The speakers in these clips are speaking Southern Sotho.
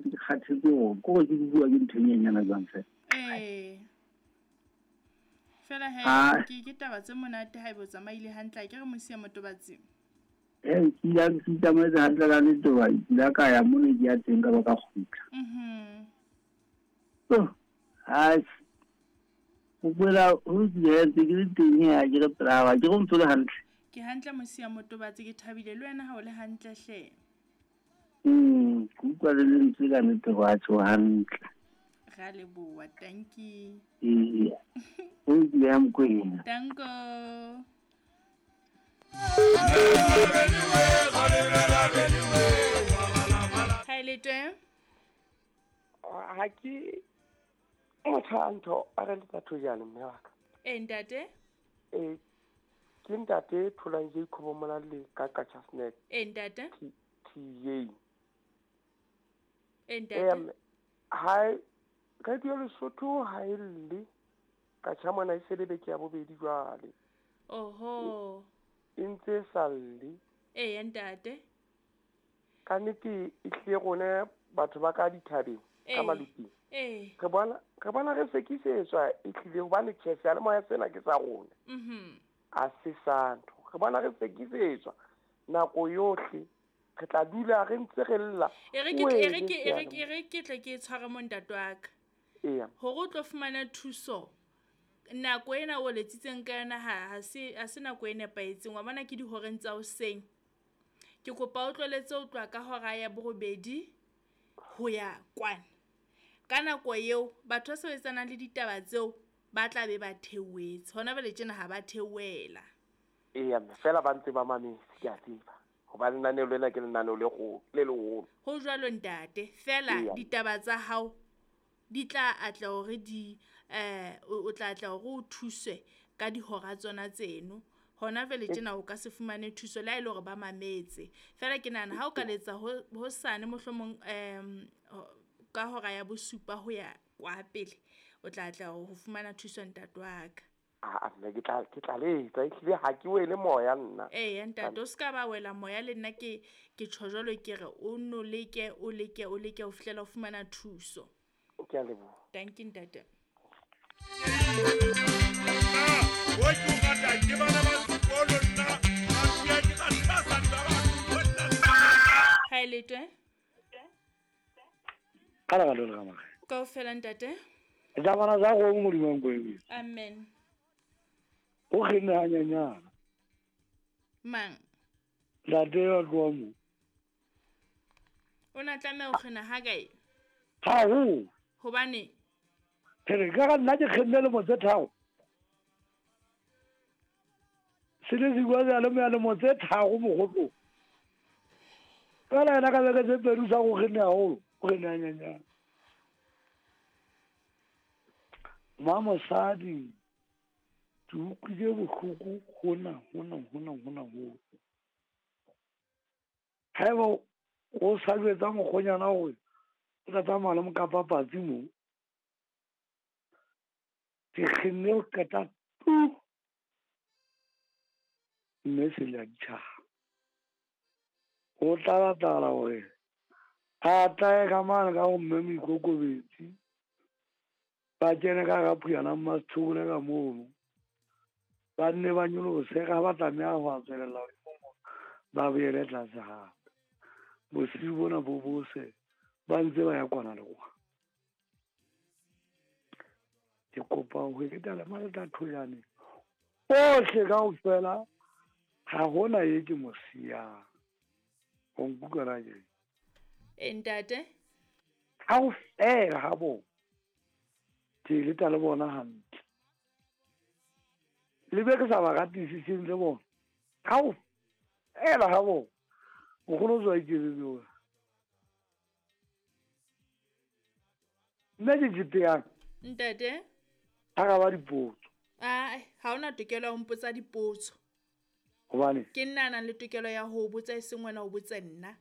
ntse ke kgathetse hore ke gore ke bua ke ntho e nyenyana jwang fela. Ee. Fela he ke taba tse monate ha ebe o tsamaile hantle a ke re Mosia Motobatsi. Ee, ke ile ke itsamaetse hantle ka nnete hoba ke ile ka ya mo ne ke ya teng ka ba ka kgutla. Oh, atjhe. Mokwena ho lokile he ntse ke le teng he ha ke re pela hao, ha ke re o ntso le hantle. Ke hantle Mosia Motobatsi ke thabile le wena ha o le hantle hle. Ke utlwa le lentswe ka nnete hore atjhe o hantle. Ra leboha, tanki. Eya. Ho lokile ha Mokwena. Tanko. Ha e le teng? Ha ke motho a ntho a re letsa thojane mme wa ka. Ee ntate. Ee ke ntate Tholang Jacob Molalle ka Qacha Snack. Ee ntate. TJ. Ee ntate. Ha radio Lesotho ha e lle ka tjha mona e se le beke ya bobedi jwale. Oho. E ntse e sa lle. Ee ntate. Ka nnete e hlile rona batho ba ka dithabeng ka maluping. Re bona re bona re sekisetswa e hlile hobane tjhe seyalemoya sena ke sa rona. A se sa ntho. Re bona re sekisetswa nako yohle. Re tla dula re ntse re lla. E re ke e re ke e re ke e re ke tle ke tshware mo ntate wa ka. Eya. Hore o tlo fumana thuso nako ena o letsitseng ka yona ha ha se ha se nako e nepahetseng. Wa bona ke dihoreng tsa hoseng. Ke kopa o tloletse ho tloha ka hora ya borobedi ho ya kwana. Ka nako eo batho ba sebetsanang le ditaba tseo ba tla be ba theohetse. Hona jwale tjena ha ba theohela. Eya mme fela ba ntse ba mametse ke a tseba. Hoba lenaneo lena ke lenaneo le kgolo le leholo. Ho jwalo ntate, fela ditaba tsa hao di tla atla hore di o tla atla hore o thuswe ka dihora tsona tseno. Hona jwale tjena o ka se fumane thuso le ha e le hore ba mametse. Fela ke nahana ha o ka letsa hosane mohlomong ka hora ya bosupa ho ya kwa pele, o tla atla ho fumana thuso ntate wa ka. Aa mme ke tla ke tla letsa ehlile ha ke wele moya nna. Eya ntate o ska ba wela moya le nna ke ke tjho jwalo ke re o nno leke o leke o leke ho fihlela o fumana thuso. Ke a leboha. Dankie ntate. Ha e letwe? Ka lerato le ka Kaofela ntate. Tsa bana tsa go Modimo Nkwebe. Amen. O kgenne hanyenyana. Mang? Ntate wa tloha mo. O na tlameha ho kgena ha kae? Haholo. Hobane? Ke re ka ga nna ke kgenne lemo tse 3. Se le se bua seyalemoya lemo tse 3 mogotlo. Fela yena ka beke tse pedi o sa go kgenne haholo, o kgenne hanyenyana. Mma mosadi ke utlwile bohloko hona hona hona hona hona. Haeba o sa jwetsa mokgonyana hore o tla tsamaya le mokapa patsi mo. Ke kgenne ho qeta tu. Mme se le a ditjhaba. Ho tla batlahala hore a tlae ka mane ka ho mme Moikokobetsi. Ba kene ka hara Phuyana Mmasethobole ka mono. Ba nne ba nyolose ka ba tlameha ho tswelella hodimo moo, ba boele tlase hape. Bosiu bona bo bose ba ntse ba ya kwana le kwana. Ke kopa ho eketsa le Maleta Thojane ohle kaofela ha hona ye ke mo siyang. O nkutlwa na ke? E ntate. Kaofela ha bona. Ke leta le bona hantle. Le be ke sa ba ratisiseng le bona. Kaofela ha bona. Nkgono o tswa iketsetse wena. Nna ke tjete yang? Ntate. Araba dipotso. Ae, ha hona tokelo ya ho mpotsa dipotso. Hobane? Ke nna a nang le tokelo ya ho botsa e seng wena o botse nna.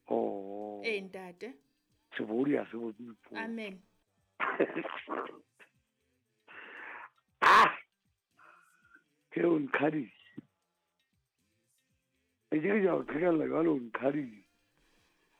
Oh. Ee ntate. Sebodi ha se botse dipotso. Amen. Ah! Ke o nqhadile. E ke ke ja o qhekella jwale o nqhadile.